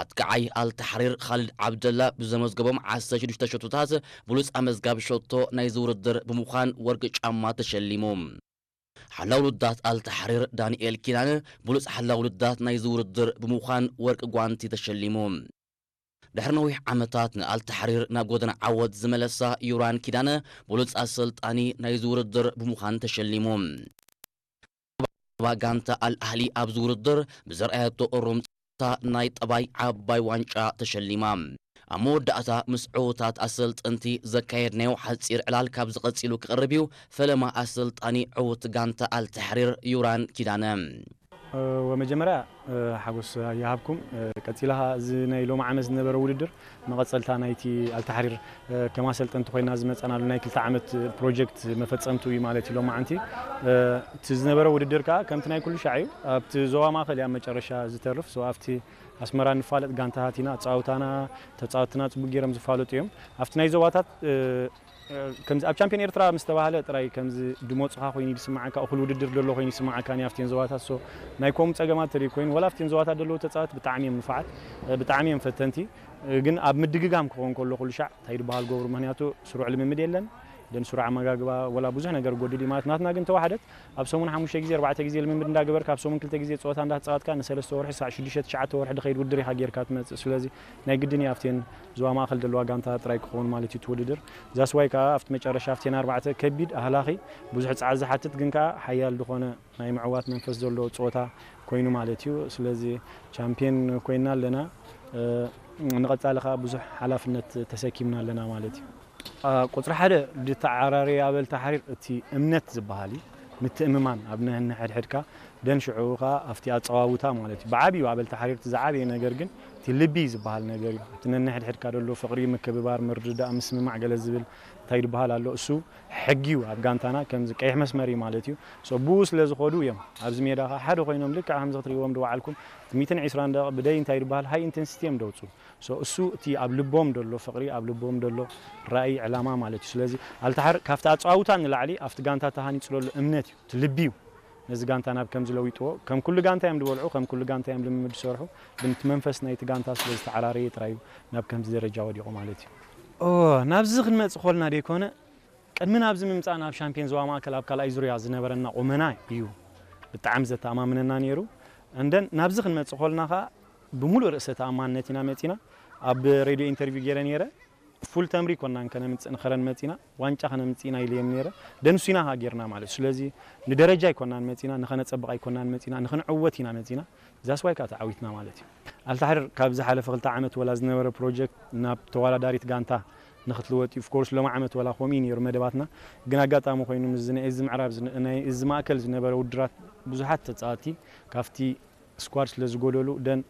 ኣጥቃዓይ ኣልታሕሪር ኻልድ ዓብደላ ብዘመዝገቦም ዓሰርተ ሽዱሽተ ሸቶታት ብሉጽ ኣመዝጋቢ ሸቶ ናይዚ ውድድር ብምዃን ወርቂ ጫማ ተሸሊሙ። ሓላው ውድዳት ኣልታሕሪር ዳንኤል ኪዳነ ብሉጽ ሓላው ውድዳት ናይዚ ውድድር ብምዃን ወርቂ ጓንቲ ተሸሊሙ። ድሕሪ ነዊሕ ዓመታት ንኣልታሕሪር ናብ ጎደና ዓወት ዝመለሳ ዩራን ኪዳነ ብሉጽ ኣሰልጣኒ ናይዚ ውድድር ብምዃን ተሸሊሙ። ጋንታ ኣልኣህሊ ኣብዚ ውድድር ብዘርኣየቶ እሩምታ ናይ ጠባይ ዓባይ ዋንጫ ተሸሊማ። ኣብ መወዳእታ ምስ ዕዉታት ኣሰልጠንቲ ዘካየድናዮ ሓጺር ዕላል ካብዚ ቀጺሉ ክቐርብ እዩ። ፈለማ ኣሰልጣኒ ዕዉት ጋንታ ኣልታሕሪር ዩራን ኪዳነ። ወመጀመርያ ሓጎስ ይሃብኩም። ቀጺላ እዚ ናይ ሎሚ ዓመት ዝነበረ ውድድር መቐጸልታ ናይቲ ኣልታሕሪር ከም ኣሰልጠንቲ ኮይና ዝመጸናሉ ናይ ክልተ ዓመት ፕሮጀክት መፈጸምቱ እዩ ማለት እዩ። ሎማዓንቲ እቲ ዝነበረ ውድድር ከኣ ከምቲ ናይ ኩሉ ሻዕ እዩ። ኣብቲ ዞባ ማእከል እያ መጨረሻ ዝተርፍ። So ኣብቲ ኣስመራ ንፋለጥ ጋንታታት ኢና። ኣጻውታና ተጻወትና ጽቡቅ ገይሮም ዝፋለጡ እዮም። ኣብቲ ናይ ዞባታት ከምዚ ኣብ ቻምፒዮን ኤርትራ ምስ ተባህለ ጥራይ ከምዚ ድሞጽኻ ኮይኑ ይስምዓካ፣ እኹል ውድድር ደሎ ኮይኑ ይስምዓካ። ኣብቲን ዞባታት ሶ ናይ ኮም ጸገማት ተደይ ኮይኑ ወላ ኣብቲን ዞባታት ደለዉ ተጻወት ብጣዕሚ እዮም ንፉዓት፣ ብጣዕሚ እዮም ፈተንቲ። ግን ኣብ ምድግጋም ክኸውን ከሎ ኩሉ ሻዕ እንታይ ድበሃል ገብሩ፣ ምክንያቱ ስሩዕ ልምምድ የለን፣ ደን ስሩዕ ኣመጋግባ ወላ ብዙሕ ነገር ጎድል እዩ ማለት። ናትና ግን ተዋሕደት ኣብ ሰሙን ሓሙሽተ ግዜ ኣርባዕተ ግዜ ልምምድ እንዳገበርካ ኣብ ሰሙን ክልተ ግዜ ጸወታ እንዳተጻወትካ ንሰለስተ ወርሒ ሳዕ ሽዱሽተ ትሽዓተ ወርሒ ድኸይድ ውድድር ኢኻ ጌርካ ትመጽእ። ስለዚ ናይ ግድን እዩ ኣብቴን ዞባ ማእከል ዘለዋ ጋንታ ጥራይ ክኸውን ማለት እዩ እቲ ውድድር። ዛስዋይ ከኣ ኣብቲ መጨረሻ ኣብቴን ኣርባዕተ ከቢድ ኣህላኺ ብዙሕ ጻዕሪ ዝሓትት ግን ከኣ ሓያል ዝኾነ ናይ ምዕዋት መንፈስ ዘለዎ ጸወታ ኮይኑ ማለት እዩ። ስለዚ ቻምፒየን ኮይና ኣለና። ንቐጻሊ ከኣ ብዙሕ ሓላፍነት ተሰኪምና ኣለና ማለት እዩ። ቁጽሪ ሓደ ድተዓራረየ ኣበል ተሓሪር እቲ እምነት ዝበሃል እዩ። ምትእምማን ኣብ ነንሕድሕድካ ደን ሽዑ ከኣ ኣብቲ ኣጸዋውታ ማለት እዩ። ብዓብዩ ኣበል ተሓሪር እቲ ዝዓበየ ነገር ግን እቲ ልቢ ዝበሃል ነገር እዩ። እቲ ነንሕድሕድካ ደሎ ፍቕሪ፣ ምክብባር፣ ምርድዳእ፣ ምስምማዕ ገለ ዝብል እንታይ ዝበሃል ኣሎ እሱ ሕጊ እዩ ኣብ ጋንታና ከምዚ ቀይሕ መስመር እዩ ማለት እዩ። So ብኡ ስለ ዝኾዱ እዮም ኣብዚ ሜዳ ከኣ ሓደ ኮይኖም ልክዕ ከምዚ ክትርእይዎም ድወዓልኩም እቲ ሚትን ዕስራን ደቂቕ ብደይ እንታይ ዝበሃል ሃይ ኢንተንሲቲ እዮም ደውፁ። So እሱ እቲ ኣብ ልቦም ደሎ ፍቕሪ ኣብ ልቦም ደሎ ራእይ ዕላማ ማለት እዩ። ስለዚ ኣልታሓር ካብቲ ኣፀዋውታ ንላዕሊ ኣብቲ ጋንታ ተሃኒፁ ደሎ እምነት እዩ እቲ ልቢ እዩ። ነዚ ጋንታ ናብ ከምዚ ለዊጥዎ ከም ኩሉ ጋንታ እዮም ዝበልዑ ከም ኩሉ ጋንታ እዮም ልምምድ ዝሰርሑ ግን እቲ መንፈስ ናይቲ ጋንታ ስለ ዝተዓራረየ ጥራይ እዩ ናብ ከምዚ ደረጃ ወዲቑ ማለት እዩ። ናብዚ ክንመፅእ ኮልና ደይኮነ ቅድሚ ናብዚ ምምፃእ ናብ ሻምፒዮን ዞባ ማእከል ኣብ ካልኣይ ዙርያ ዝነበረና ቁመና እዩ ብጣዕሚ ዘተኣማምነና ነይሩ። እንደን ናብዚ ክንመፅእ ኮልና ከዓ ብሙሉእ ርእሰ ተኣማንነት ኢና መፂና። ኣብ ሬድዮ ኢንተርቪው ገይረ ነይረ። ፉል ተምሪ ኮናን ከነምፅእ ንኸረን መፂና ዋንጫ ከነምፅእ ኢና ኢለዮም ነይረ። ደንሱና ከዓ ጌርና ማለት እዩ። ስለዚ ንደረጃ ኣይኮናን መፂና ንኸነፀብቕ ኣይኮናን መፂና ንኽንዕወት ኢና መፂና። ዛስዋይ ከዓ ተዓዊትና ማለት እዩ። ኣልታሕር ካብ ዝሓለፈ ክልተ ዓመት ወላ ዝነበረ ፕሮጀክት ናብ ተወዳዳሪት ጋንታ ንክትልወጥ እዩ። ኦፍኮርስ ሎሚ ዓመት ወላ ከምኡ እዩ ነይሩ መደባትና። ግን ኣጋጣሚ ኮይኑ ምስዚ ናይ እዚ ምዕራብ ናይ እዚ ማእከል ዝነበረ ውድራት ብዙሓት ተፃወቲ ካብቲ ስኳድ ስለ ዝጎደሉ ደን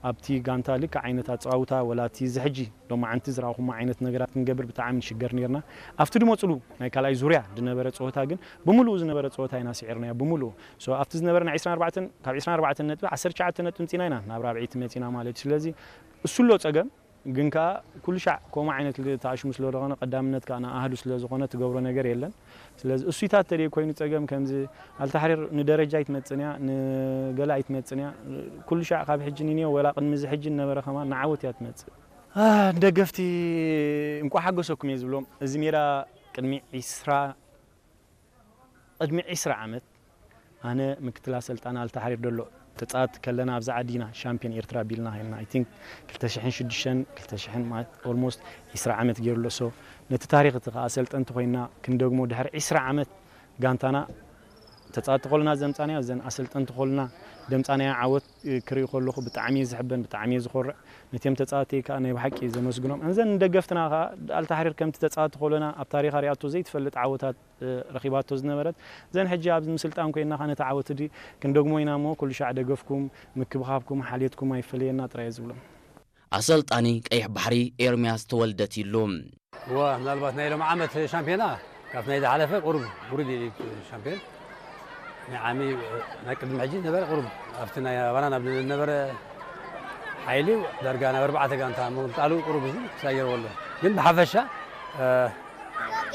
ኣብቲ ጋንታ ልክዕ ዓይነት ኣፀዋውታ ወላ እቲ እዚ ሕጂ ሎማዓንቲ ዝረኣኹሞ ዓይነት ነገራት ክንገብር ብጣዕሚ ንሽገር ነርና። ኣብቲ ድመፅሉ ናይ ካልኣይ ዙርያ ዝነበረ ፀወታ ግን ብምሉኡ ዝነበረ ፀወታ ኢና ስዒርናዮ ብምሉኡ። So ኣብቲ ዝነበረ ናይ ዕስራን ኣርባዕተን ካብ ዕስራን ኣርባዕተን ነጥቢ ዓሰርተ ትሽዓተ ነጥቢ ምፂና ኢና ናብ ራብዒቲ መፂና ማለት እዩ። ስለዚ እሱ ኣሎ ፀገም ግን ከዓ ኩሉ ሻዕ ከምኡ ዓይነት ተኣሽሙ ስለ ዝኾነ ቀዳምነት ከዓ ንኣህዱ ስለ ዝኾነ ትገብሮ ነገር የለን። ስለዚ እሱይታት ተደይ ኮይኑ ፀገም ከምዚ ኣልታሕሪር ንደረጃ ኣይትመፅን እያ ንገለ ኣይትመፅን እያ። ኩሉ ሻዕ ካብ ሕጂ ንንዮ ወላ ቅድሚ እዚ ሕጂ ነበረ ከማን ንዓወት እያ ትመፅእ። ንደገፍቲ እንቋ ሓጎሰኩም እየ ዝብሎም። እዚ ሜዳ ቅድሚ ዒስራ ቅድሚ ዒስራ ዓመት ኣነ ምክትል ኣሰልጣኒ ኣልታሓሪር ደሎ ተፃወቲ ከለና ኣብዚ ዓዲ ኢና ሻምፒዮን ኤርትራ ቢልና ሄና። I think ክልተ ሽሕን ሽዱሽተን ክልተ ሽሕን ማለት almost ዒስራ ዓመት ገይሩ ኣሎ። So ነቲ ታሪኽ እቲ ከዓ ኣሰልጠንቲ ኮይና ክንደግሞ ድሕሪ ዒስራ ዓመት ጋንታና ተፃወቲ ከሉና ዘምፃናዮ እዘን ኣሰልጠንቲ ከሉና ደምፃናዮ ዓወት ክርኢ ከለኹ ብጣዕሚ እየ ዝሕበን ብጣዕሚ እየ ዝኾርዕ። ነቲኦም ተፃወቲ ከዓ ናይ ብሓቂ ዘመስግኖም። እዘን ንደገፍትና ከዓ ኣልታሓሪር ከምቲ ተፃወቲ ከሉና ኣብ ታሪኻ ሪኣቶ ዘይትፈልጥ ዓወታት ረኺባቶ ዝነበረት እዘን ሕጂ ኣብ ምስልጣን ኮይና ከነተዓወት ዲ ክንደግሞ ኢና እሞ ኩሉ ሻዕ ደገፍኩም ምክብኻብኩም ሓልየትኩም ኣይፈለየና ጥራይ ዝብሎም። ኣሰልጣኒ ቀይሕ ባሕሪ ኤርምያስ ተወልደ ቲሉ። እዋ ምናልባት ናይ ሎም ዓመት ሻምፒዮና ካብ ናይ ዝሓለፈ ቁሩብ ውርድ ኢሉ ሻምፒዮን ናይ ዓሚ ናይ ቅድሚ ሕጂ ነበረ ቁሩብ ኣብቲ ናይ ኣባና ናብ ዝነበረ ሓይሊ ዳርጋ ናብ ኣርባዕተ ጋንታ ምቕጣሉ ቁሩብ እዚ ክሳየርዎ ኣሎ ግን ብሓፈሻ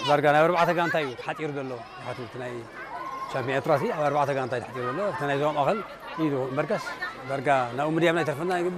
ዳርጋ ናብ ኣርባዕተ ጋንታ እዩ ተሓፂሩ ዘሎ። ምክንያቱ እቲ ናይ ቻምፒዮን ኤርትራ ሲ ኣብ ኣርባዕተ ጋንታ እዩ ተሓፂሩ ዘሎ። እቲ ናይ ዞባ ማእኸል እዩ እምበርከስ ዳርጋ ናብኡ ምድያም ናይ ተርፈና ግን